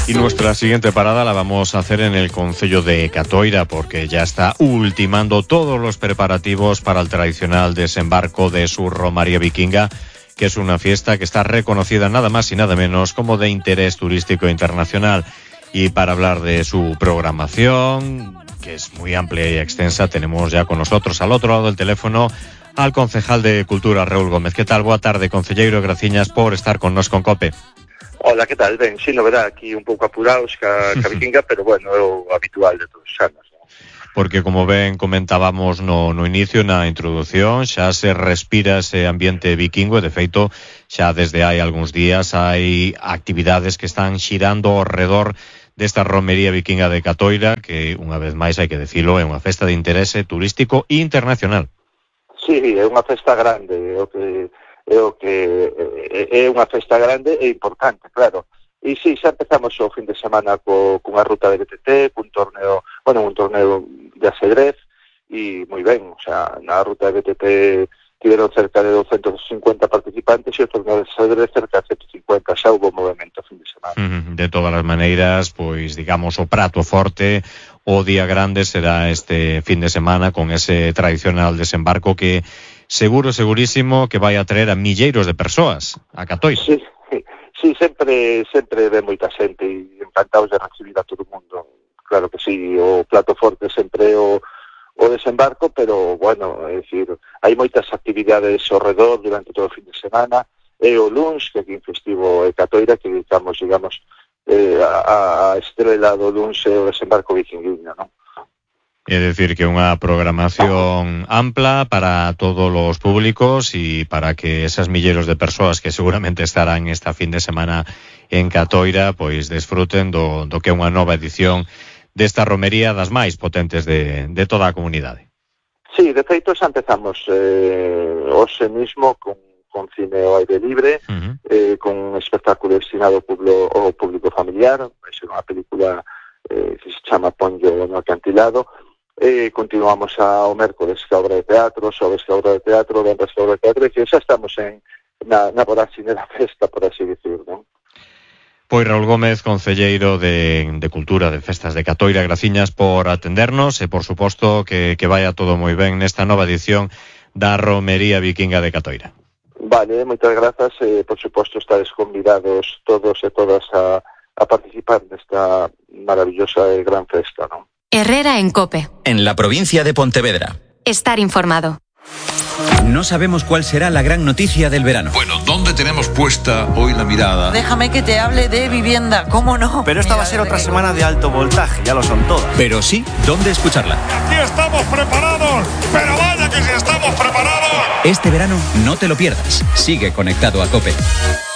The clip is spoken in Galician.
Y nuestra siguiente parada la vamos a hacer en el concello de Catoira, porque ya está ultimando todos los preparativos para el tradicional desembarco de su romaría vikinga, que es una fiesta que está reconocida nada más y nada menos como de interés turístico internacional. Y para hablar de su programación, que es muy amplia y extensa, tenemos ya con nosotros al otro lado del teléfono al concejal de Cultura, Raúl Gómez. ¿Qué tal? Boa tarde, concelleiro, graciñas por estar con nos con COPE. Hola, que tal? Ben, si, novedad, aquí un pouco apurados ca vikinga, pero bueno, é o habitual de todos os anos, ¿no? Porque, como ben comentábamos no inicio, na introdución, xa se respira ese ambiente vikingo, e, de feito, xa desde hai algúns días hai actividades que están xirando ao redor desta romería vikinga de Catoira, que, unha vez máis, hai que dicilo, é unha festa de interese turístico internacional. Sí, é unha festa grande, é unha festa grande e importante, claro. E sí, xa empezamos o fin de semana cunha ruta de BTT, un torneo de ajedrez, e moi ben, o sea, na ruta de BTT tiveron cerca de 250 participantes e o torneo de ajedrez cerca de 150, xa hubo movimento o fin de semana. De todas as maneiras, pois, digamos, o prato forte, o día grande será este fin de semana con ese tradicional desembarco que segurísimo que vai a traer a milleiros de persoas a Catoira. Sí, sempre ve moita xente e encantados de recibir a todo o mundo. Claro que sí, o plato forte sempre o desembarco, pero, bueno, é dicir, hai moitas actividades ao redor durante todo o fin de semana, e o luns, que aquí en festivo é Catoira, que digamos, a estrela do luns é o desembarco vikinguinho, non? É dicir, que unha programación ampla para todos os públicos e para que esas milleiros de persoas que seguramente estarán esta fin de semana en Catoira, pois desfruten do que é unha nova edición desta romería das máis potentes de toda a comunidade. Sí, de feito xa empezamos hoxe mismo con cine ao aire libre, con un espectáculo destinado ao público familiar, é unha película que se chama Ponllo no acantilado. Continuamos ao mércoles ca obra de teatro, xoves ca obra de teatro, venres ca obra de teatro, e que xa estamos na vorágine da festa, por así dicir, non? Pois Raúl Gómez, concelleiro de Cultura de Festas de Catoira, graciñas por atendernos e, por suposto, que vaya todo moi ben nesta nova edición da romería vikinga de Catoira. Vale, moitas grazas, por suposto, estades convidados todos e todas a participar nesta maravillosa e gran festa, non? Herrera en COPE. En la provincia de Pontevedra. Estar informado. No sabemos cuál será la gran noticia del verano. Bueno, ¿dónde tenemos puesta hoy la mirada? Déjame que te hable de vivienda, ¿cómo no? Pero esta va a ser otra semana de alto voltaje, ya lo son todas. Pero sí, ¿dónde escucharla? Aquí estamos preparados, pero vaya que si estamos preparados. Este verano no te lo pierdas. Sigue conectado a COPE.